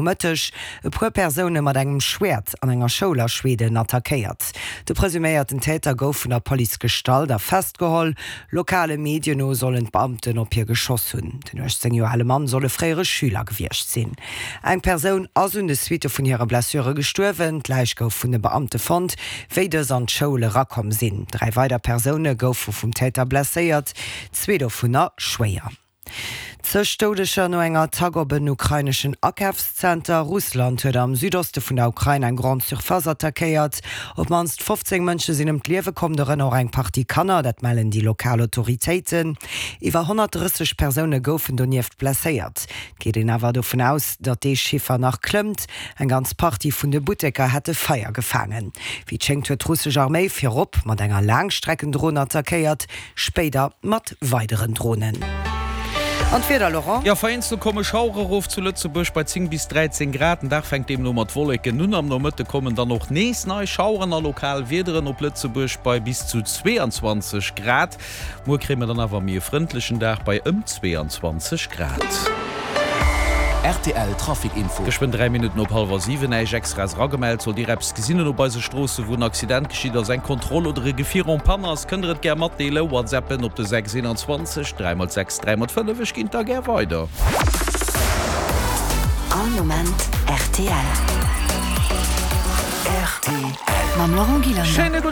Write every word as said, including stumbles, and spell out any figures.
Nomëtteg e puer Persoune mat engem Schwäert an enger Schoul a Schweden attackéiert. De presuméierten Täter gouf vun der Police gestallt a festgeholl. Lokale Medien no sollen d'Beamten op hie geschoss hunn. Den uechtzéng Joer ale Mann soll e fréiere Schüler gewiescht sinn. Eng Persoun ass un de Suitte vun hire Blessure gestuerwen. D'Läich gouf vun de Beamte fonnt, wéi dës an d'Schoul erakomm sinn. Dräi weider Persoune goufe vum Täter blesséiert, zwee dovunner schwéier. Zeg Doudeger no enger Attack op en ukraineschen Akafszenter. Russland huet am Südoste vun der Ukrain eng Grande Surface attackéiert. Op d'mannst fofzéng Mënsche sinn ëm d'Liewe komm, dorënner och eng Partie Kanner, dat mellen déi lokal Autoritéiten. Iwwer honnertdrësseg Persoune goufen donieft blesséiert. Et geet een awer dovun aus, datt dee Chiffer nach klëmmt. Eng ganz Partie vun de Butteker hätte Feier gefaangen. Wéi et schéngt huet d'russesch Arméi virop mat enger Laangstreckendron attackéiert, spéider mat weideren Dronen. An d'Wieder, Laurent? Jo, vereenzelt komme Schauere rof zu Lëtzebuerg bei zéng bis dräizéng Grad. Den Dag fänkt deemno mat Wolleken un. Am Nomëtte kommen dann och nees nei Schaueren a lokal Wiederen op Lëtzebuerg bei bis zu zweeanzwanzeg Grad. Muer kréie mer dann awer méi e frëndlechen Dag bei ëm zweeanzwanzeg Grad. Rtl Trafic Info. Geschwënn dräi Minutten op hallwer siwen. Näischt Extraes eragemellt. Sollt Dir eppes gesinn hunn op eise Stroosse wou en Accident geschitt ass, eng Kontroll oder e Gefier en panne ass, kënnt Der et gär matdeelen. Whatsappen op de sechs eenanzwanzeg dräi mol sechs dräi mol fënnef. Ech ginn et da gär weider. All Moment rtl. Rtl. Mam Laurent Gillander. Schéine gudde.